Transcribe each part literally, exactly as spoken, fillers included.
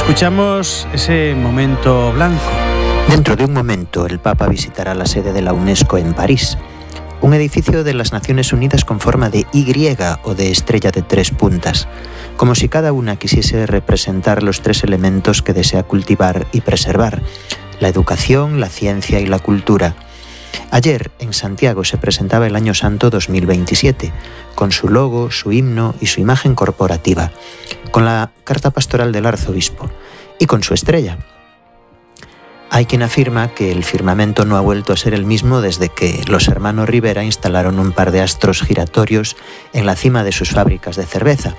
Escuchamos ese momento blanco. Dentro de un momento, el Papa visitará la sede de la UNESCO en París, un edificio de las Naciones Unidas con forma de Y o de estrella de tres puntas, como si cada una quisiese representar los tres elementos que desea cultivar y preservar: la educación, la ciencia y la cultura. Ayer, en Santiago, se presentaba el Año Santo dos mil veintisiete, con su logo, su himno y su imagen corporativa, con la carta pastoral del arzobispo y con su estrella. Hay quien afirma que el firmamento no ha vuelto a ser el mismo desde que los hermanos Rivera instalaron un par de astros giratorios en la cima de sus fábricas de cerveza.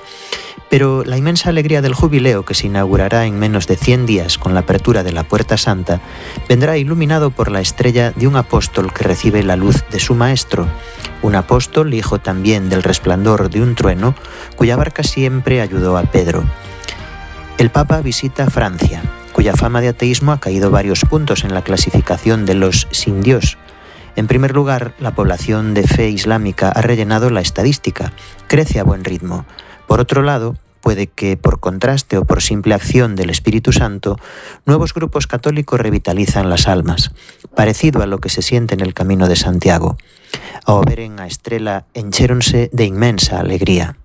Pero la inmensa alegría del jubileo, que se inaugurará en menos de cien días con la apertura de la Puerta Santa, vendrá iluminado por la estrella de un apóstol que recibe la luz de su maestro, un apóstol hijo también del resplandor de un trueno, cuya barca siempre ayudó a Pedro. El Papa visita Francia, cuya fama de ateísmo ha caído varios puntos en la clasificación de los sin Dios. En primer lugar, la población de fe islámica ha rellenado la estadística, crece a buen ritmo. Por otro lado, puede que por contraste o por simple acción del Espíritu Santo, nuevos grupos católicos revitalizan las almas, parecido a lo que se siente en el Camino de Santiago. Ao veren a estrela, enchéronse de inmensa alegría.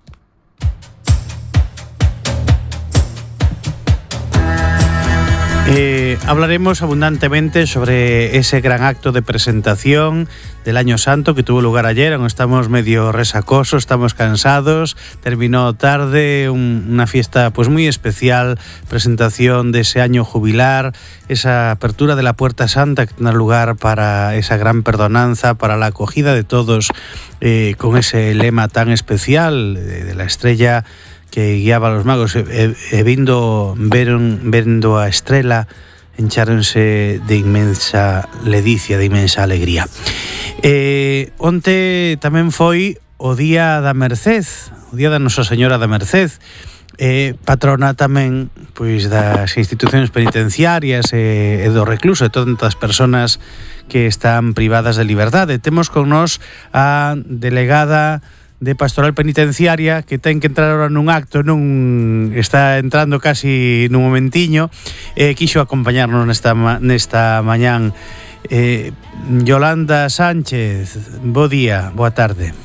Eh, hablaremos abundantemente sobre ese gran acto de presentación del Año Santo que tuvo lugar ayer, aunque estamos medio resacosos, estamos cansados, terminó tarde, un, una fiesta pues muy especial, presentación de ese año jubilar, esa apertura de la Puerta Santa que tendrá lugar para esa gran perdonanza, para la acogida de todos, eh, con ese lema tan especial de, de la estrella que guiaba a los magos, e, e vindo, veron, vendo a estrela, encháronse de inmensa ledicia, de inmensa alegría. Eh, onte tamén foi o Día da Merced, o Día da Nosa Señora da Merced, eh, patrona tamén pois das institucións penitenciarias e, e do recluso, e todas as persoas que están privadas de liberdade. Temos con nós a delegada de Pastoral Penitenciaria, que ten que entrar ahora nun acto, non está entrando casi nun momentiño, eh, quixo acompañarnos nesta, nesta mañán. eh, Yolanda Sánchez, bo día, boa tarde.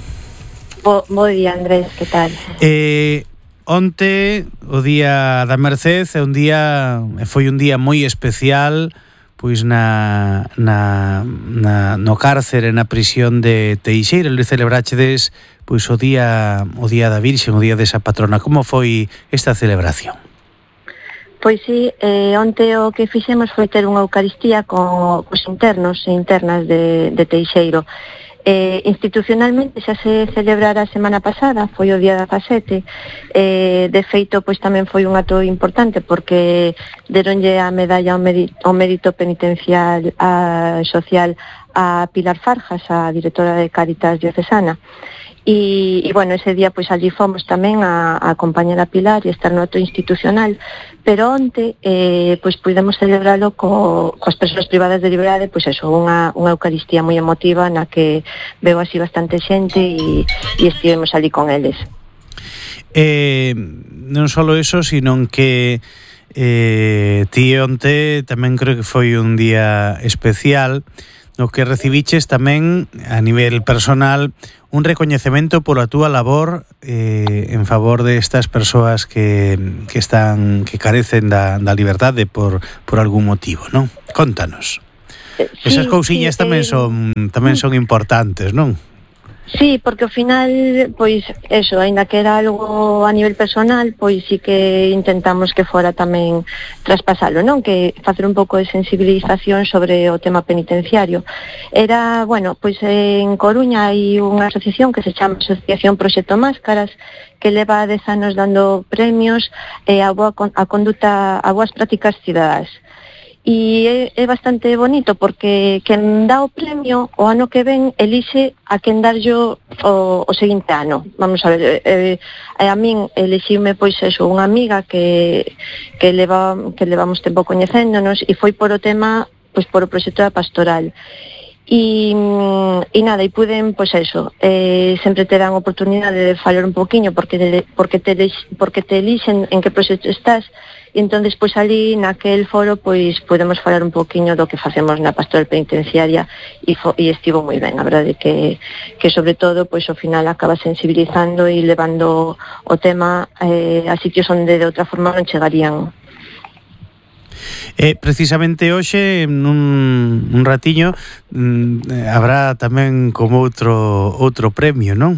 Bo, bo día, Andrés, que tal? Eh, onte, o Día da Merced, é un día, foi un día moi especial, pois na, na, na, no cárcere, na prisión de Teixeira, onde celebrachedes pois o día o día da Virxen, o día desa patrona. Como foi esta celebración? Pois sí, eh, onte o que fixemos foi ter unha eucaristía con os internos e internas de, de Teixeiro. Eh, institucionalmente xa se celebrara a semana pasada, foi o día dezasete. Eh, de feito, pois tamén foi un acto importante porque deronlle a medalla ao mérito, ao mérito penitencial a, social a Pilar Farjas, a directora de Cáritas Diocesana. E, e bueno, ese día pois allí fomos tamén a, a acompañar a Pilar e estar no acto institucional, pero onte eh, pois pudemos celebralo co, coas persoas privadas de liberdade, pois eso, unha, unha eucaristía moi emotiva na que veo así bastante xente e, e estivemos ali con eles. Eh, non só eso, sino que eh, ti onte tamén creo que foi un día especial no que recibiches tamén a nivel personal un recoñecemento pola túa labor eh, en favor de estas persoas que, que están que carecen da, da liberdade por, por algún motivo, non? Contanos. Sí, esas cousiñas sí, tamén eh, son tamén son importantes, non? Sí, porque ao final, pois, eso, aínda que era algo a nivel personal, pois sí que intentamos que fora tamén traspasalo, non? Que facer un pouco de sensibilización sobre o tema penitenciario. Era, bueno, pois en Coruña hai unha asociación que se chama Asociación Proxecto Máscaras, que leva dez anos dando premios eh, a, boa, a conduta, a boas prácticas cidadás. E é, é bastante bonito porque quen dá o premio o ano que ven elixe a quen darllo o, o seguinte ano. Vamos a ver, eh, eh, a min elixiume pois eso, unha amiga que, que, leva, que levamos tempo coñecéndonos e foi por o tema, pois por o proxecto da pastoral. E, e nada, e puden, pois eso, eh, sempre te dan oportunidade de falar un poquinho porque, de, porque, te, porque te elixen en que proxecto estás, e entón despois ali naquel foro pois podemos falar un poquinho do que facemos na pastoral penitenciaria e, fo, e estivo moi ben, a verdade que, que sobre todo pois ao final acaba sensibilizando e levando o tema eh, a sitios onde de outra forma non chegarían. E precisamente hoxe nun un ratiño mm, habrá tamén como outro outro premio, non?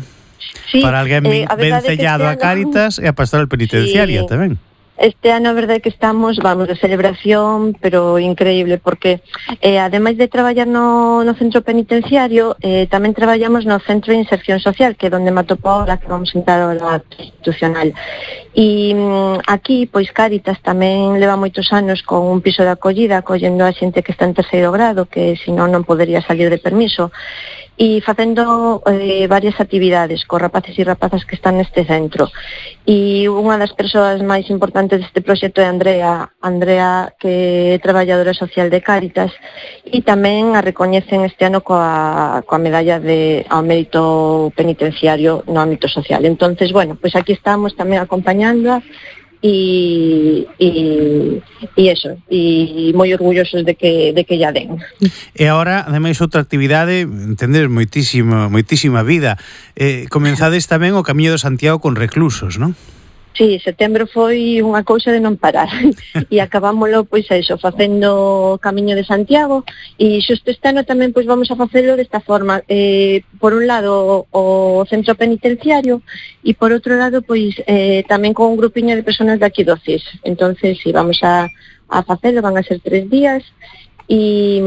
Sí, para alguén eh, a vencellado a Cáritas e a pastoral penitenciaria sí. tamén. Este ano a verdade que estamos, vamos, de celebración, pero increíble, porque eh, ademais de traballar no, no centro penitenciario, eh, tamén traballamos no centro de inserción social, que é onde me atopou ahora que vamos a entrar ao institucional. E mm, aquí, pois, Cáritas tamén leva moitos anos con un piso de acollida, acollendo a xente que está en terceiro grado, que senón non podería salir de permiso, e facendo eh, varias actividades co rapaces e rapazas que están neste centro. E unha das persoas máis importantes deste proxecto é Andrea, Andrea que é traballadora social de Cáritas, e tamén a recoñecen este ano coa, coa medalla de, ao mérito penitenciario no ámbito social. Entonces, bueno, pois aquí estamos tamén acompañándoa e e e eso, e moi orgullosos de que de que ya den. E agora, ademais, outra actividade, entendes, moitísimo, moitísima vida. Eh, comenzades tamén o Camiño de Santiago con reclusos, non? Sí, setembro foi unha cousa de non parar e acabámoslo, pois eso, facendo o Camiño de Santiago e xusto este ano tamén pois vamos a facelo desta forma, eh, por un lado o centro penitenciario e por outro lado pois eh, tamén con un grupiño de personas de aquí do C I S. Entonces, si sí, vamos a, a facelo, van a ser tres días e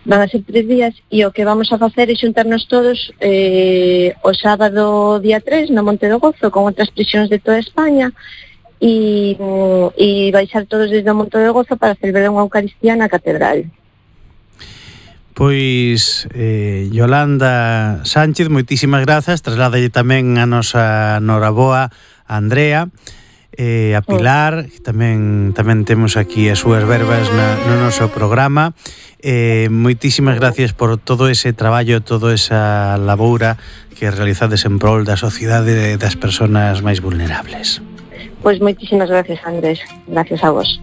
van a ser tres días e o que vamos a facer é xuntarnos todos eh, o sábado día tres no Monte do Gozo con outras prisións de toda España e, e baixar todos desde o Monte do Gozo para celebrar unha Eucaristía na Catedral. Pois, eh, Yolanda Sánchez, moitísimas grazas, trasládalle tamén a nosa noraboa a Andrea, eh, a Pilar, que tamén tamén temos aquí as súas verbas na, no noso programa. Eh, moitísimas gracias por todo ese traballo, toda esa laboura que realizades en prol da sociedade das persoas máis vulnerables. Pois moitísimas gracias, Andrés. Gracias a vos.